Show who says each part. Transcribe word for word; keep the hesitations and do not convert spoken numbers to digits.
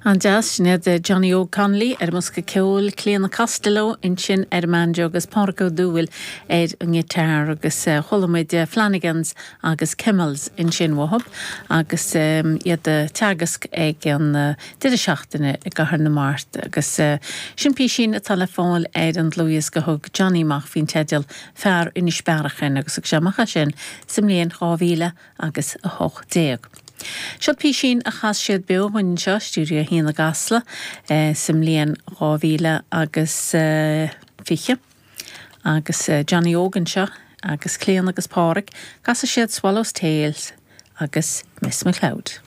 Speaker 1: An-deas sin iad Johnny Óg Connolly ar an mbosca ceoil Clíona Costello ansin ar an mbanjo agus Pádraig Ó Dúill ar an ngiotár agus chuala muid Flanagans agus Kimmels ansin uathub agus iad ag teagasc ag an deireadh seachtaine i gCathair na Mart agus sin písín atá le fáil ar an dlúthdhiosca a thug Johnny amach faoin teideal Fear Inis Bearachain agus thug sé amach é sin sa mbliain dhá mhíle agus a hocht déag. Seo písín a chas siad beo anseo Stiúideo a haon i gCasla sa mbliain dhá mhíle agus fiche. Agus Johnny Óg anseo agus Clíona agus Pádraig, casfaidh siad Swallow's Tail agus Miss McLeod.